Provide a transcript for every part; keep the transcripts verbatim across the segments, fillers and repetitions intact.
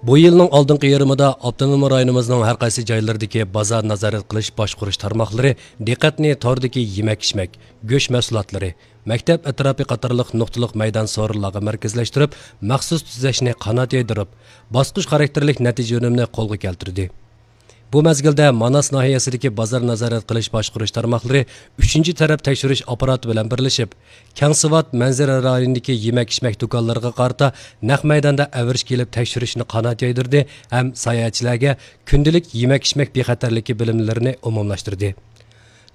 بۇ يىلنىڭ ئالدىنقى يېرىمىدا ئاپتونوم رايونىمىزنىڭ ھەر قايسى جايلىرىدىكى بازار نازارەت قىلىش باشقۇرۇش تارماقلىرى دىققەتنى توردىكى يېمەك-ئىچمەك، گۆش مەھسۇلاتلىرى، مەكتەپ ئەتراپى قاتارلىق نۇقتىلىق مەيدان سورۇنلارغا مەركەزلەشتۈرۈپ، مەخسۇس تۈزەشنى قانات يايدۇرۇپ، باسقۇچ خاراكتېرلىك نەتىجە ئۈنۈمىنى قولغا كەلتۈردى. بۇ مەزگىلدە ماناس ناھىيەسىدىكى بازار نازارەت قىلىش باشقۇرۇش تارماقلىرى ئۈچىنچى تەرەپ تەكشۈرۈش ئاپپاراتى بىلەن بىرلىشىپ، كەڭسىۋات مەنزىرە رايونىدىكى يېمەك-ئىچمەك دۇكانلىرىغا قارىتا نەق مەيداندا ئەۋرىشكە ئېلىپ تەكشۈرۈشنى قانات يايدۇردى ھەم ساياھەتچىلەرگە كۈندىلىك يېمەك-ئىچمەك بىخەتەرلىكى بىلىملىرىنى ئومۇملاشتۇردى.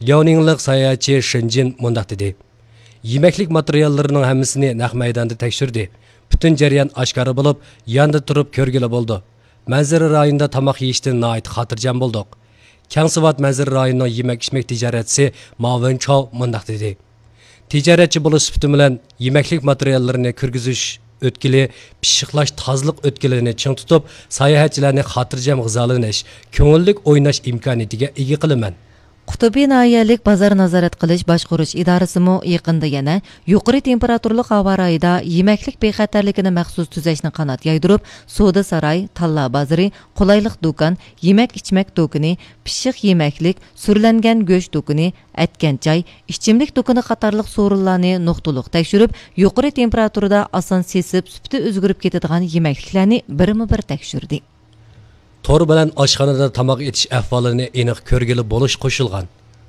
لياۋنىڭلىق ساياھەتچى شېنجىن مۇنداق دېدى: يېمەكلىك ماتېرىياللىرىنىڭ ھەممىسىنى نەق مەيداندا تەكشۈردى. پۈتۈن جەريان ئاشكارا بولۇپ، ياندا تۇرۇپ كۆرگىلى بولىدۇ. مەنزىرە رايونىدا تاماق يېيىشتىن ناھايىتى خاتىرجەم بولدۇق. كەڭسىۋات مەنزىرە رايونىنىڭ يېمەك-ئىچمەك تىجارەتچىسى ماۋېن چاۋ مۇنداق دېدى: تىجارەتچى بولۇش سۈپىتىم بىلەن يېمەكلىك ماتېرىياللىرىنى كىرگۈزۈش ئۆتكىلى، پىششىقلاش تازىلىق ئۆتكىلىنى چىڭ تۇتۇپ، ساياھەتچىلەرنى خاتىرجەم غىزالىنىش، كۆڭۈللۈك ئويناش ئىمكانىيىتىگە ئىگە قىلىمەن. قۇتۇبى ناھىيەلىك بازار نازارەت قىلىش باشقۇرۇش ئىدارىسىمۇ يېقىندا يەنە يۇقىرى تېمپېراتۇرىلىق ھاۋا رايىدا يېمەكلىك بىخەتەرلىكىنى مەخسۇس تۈزەشنى قانات يايدۇرۇپ، سودا ساراي، تاللا بازىرى، قولايلىق دۇكان، يېمەك-ئىچمەك دۇكىنى، پىششىق يېمەكلىك، سۈرلەنگەن گۆش دۇكىنى، ئەتكەن چاي، ئىچىملىك دۇكىنى قاتارلىق سورۇنلارنى نۇقتىلىق تەكشۈرۈپ، يۇقىرى تېمپېراتۇرىدا ئاسان سېسىپ، سۈپىتى ئۆزگىرىپ كېتىدىغان يېمەكلىكلەرنى بىرمۇ بىر تەكشۈردى. تور بىلەن ئاشخانىدا تاماق ئېتىش ئەھۋالىنى ئېنىق كۆرگىلى بولۇش قوشۇلغان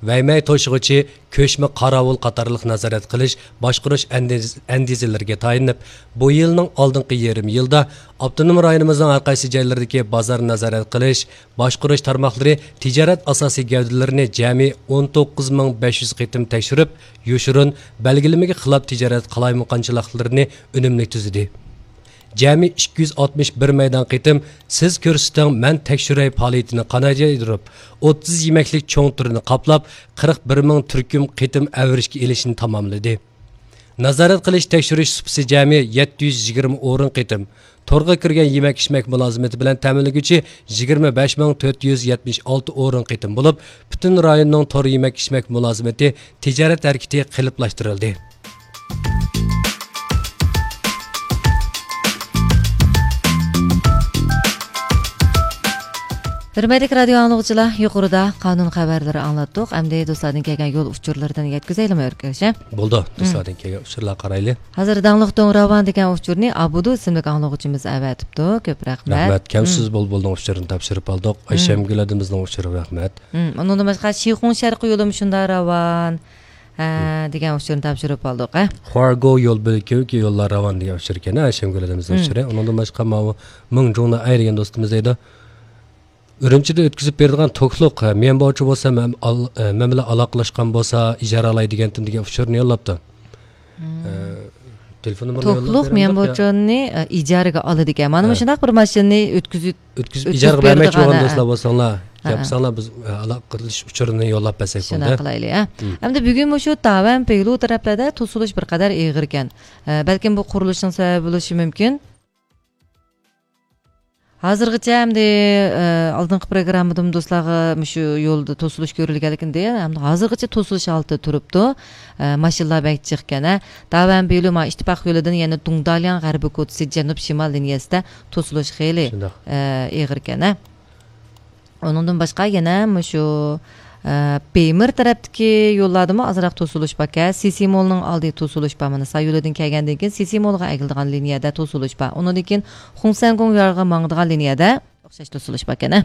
ۋەيمەي توشۇغۇچى، كۆچمە قاراۋۇل قاتارلىق نازارەت قىلىش، باشقۇرۇش ئەندىز-، ئەندىزىلىرىگە تايىنىپ، بۇ يىلنىڭ ئالدىنقى يېرىم يىلدا ئاپتونوم رايونىمىزنىڭ ھەر قايسى جايلىرىدىكى بازار نازارەت قىلىش، باشقۇرۇش تارماقلىرى تىجارەت ئاساسىي گەۋدىلىرىنى جەمئىي ئون توققۇز مىڭ بەش يۈز قېتىم تەكشۈرۈپ، يوشۇرۇن، بەلگىلىمىگە خىلاپ تىجارەت قالايمىقانچىلىقلىرىنى ئۈنۈملۈك تۈزىدى. جەمئىي ئىككى يۈز ئاتمىش بىر مەيدان قېتىم سىز كۆرسىتىڭ، مەن تەكشۈرەي پائالىيىتىنى قانات يايدۇرۇپ، ئوتتۇز يېمەكلىك چوڭ تۈرنى قاپلاپ، قىرىق بىر مىڭ تۈركۈم قېتىم ئەۋرىشكە ئېلىشنى تاماملىدى. نازارەت قىلىش تەكشۈرۈش سۇپىسى جەمئىي يەتتە يۈز يىگىرمە ئورۇن قېتىم، تورغا كىرگەن يېمەك-ئىچمەك مۇلازىمىتى بىلەن تەمىنلىگۈچى يىگىرمە بەش مىڭ تۆت يۈز يەتمىش ئالتە ئورۇن قېتىم بولۇپ، پۈتۈن رايوننىڭ تور يېمەك-ئىچمەك مۇلازىمىتى تىجارەت ھەرىكىتى قېلىپلاشتۇرۇلدى. ھۆرمەتلىك رادىيو ئاڭلىغۇچىلار، يۇقىرىدا قانۇن خەۋەرلىرى ئاڭلاتتۇق. ئەمدى دوستلاردىن كەلگەن يول ئۇچۇرلىرىدىن يەتكۈزەيلىمۇ، ئۆركەش، ھە؟ بولىدۇ. مم. دوستلاردىن كەلگەن ئۇچۇرلارغا قارايلى. ھازىر داڭلىق دۇڭراۋان دېگەن ئۇچۇرنى ئابۇدۇ ئىسىملىك ئاڭلىغۇچىمىز ئەۋەتىپتۇ. كۆپ رەھمەت. رەھمەت. كەمسىز مم. بۇلبۇلنىڭ ئۇچۇرىنى تاپشۇرۇپ ئالدۇق. مم. ئايشەمگۈل ھەدىمىزنىڭ ئۇچۇرى، رەھمەت. مم. ئۇنىڭدىن باشقا، شىخۇڭ شەرقىي يولىمۇ شۇنداق راۋان، ھە، مم. دېگەن ئۇچۇرنى تاپشۇرۇپ ئالدۇق، ھە؟ خۇارگو يول بۆلىكىدىكى يوللار راۋان دېگەن ئۇچۇر ئىكەن، ئايشەمگۈل ھەدىمىزنىڭ مم. ئۇچۇرى. ئۇنىڭدىن باشقا، ماۋۇ مىڭجۇڭنى ئايرىگەن دوستىمىز دەيدۇ. ئۈرۈمچىدە ئۆتكۈزۈپ بېرىدىغان توكلۇق، مەن بوچى بولسا، مەن ئال-، مەن بىلەن ئالاقىلاشقان بولسا، ئىجارە ئالاي دېگەنتىم دېگەن ئۇچۇرنى يوللاپتۇ. مم. ئە، تېلېفون نومۇرىنى يوللاپ توكلۇق بېرەمدۇق يا؟ مەن بوچىنى، ئە، ئىجارىگە ئالىدىكەن. مانا ھە. مۇشۇنداق بىر ماشىنىنى ئۆتكۈزۈپ، ئۆتكۈزۈپ ئۆتكۈزۈپ ئىجارىگە بەرمەكچى بولغان بېرىدىغان، ھە. دوستلار بولساڭلار، ھە، گەپ ھە. قىلساڭلار، بىز، ئە، ئالاقە قىلىش ئۇچۇرىنى يوللاپ بەرسەك بولدى. شۇنداق قىلايلى، ھە. مم. ئەمدى بۈگۈن مۇشۇ داۋەن پېيلۇ تەرەپلەردە توسۇلۇش بىر قەدەر ئېغىركەن. ئە، بەلكىم بۇ قۇرۇلۇشنىڭ سەۋەبى بولۇشى مۇمكىن. ھازىرغىچە ئەمدى، ئە، ئالدىنقى پروگراممىدىمۇ دوستلارغا مۇشۇ يولدا توسۇلۇش كۆرۈلگەنلىكىنى دېگەن، ئەمدى ھازىرغىچە توسۇلۇش ھالىتىدە تۇرۇپتۇ. ئە، ماشىنىلار بەك جىقكەن، ھە. داۋەن بىلۇ ما ئىتتىپاق يولىدىن يەنە دۇڭدالياڭ غەربىي كوچىسى جەنۇب شىمال لىنىيەسىدە توسۇلۇش خېلى، شۇنداق. ئە، ئېغىركەن، ھە. ئۇنىڭدىن باشقا يەنە مۇشۇ، ئە، بېيمىر تەرەپتىكى يوللاردىمۇ ئازراق توسۇلۇش باركەن. سىسى مولنىڭ ئالدى توسۇلۇش بار. مانا ساي يولىدىن كەلگەندىن كېيىن سىسى مولغا ئەگىلىدىغان لىنىيەدە توسۇلۇش بار. ئۇنىڭدىن كېيىن خۇڭسەنگۇڭ يارغا ماڭىدىغان لىنىيەدە ئوخشاش توسۇلۇش باركەن، ھە.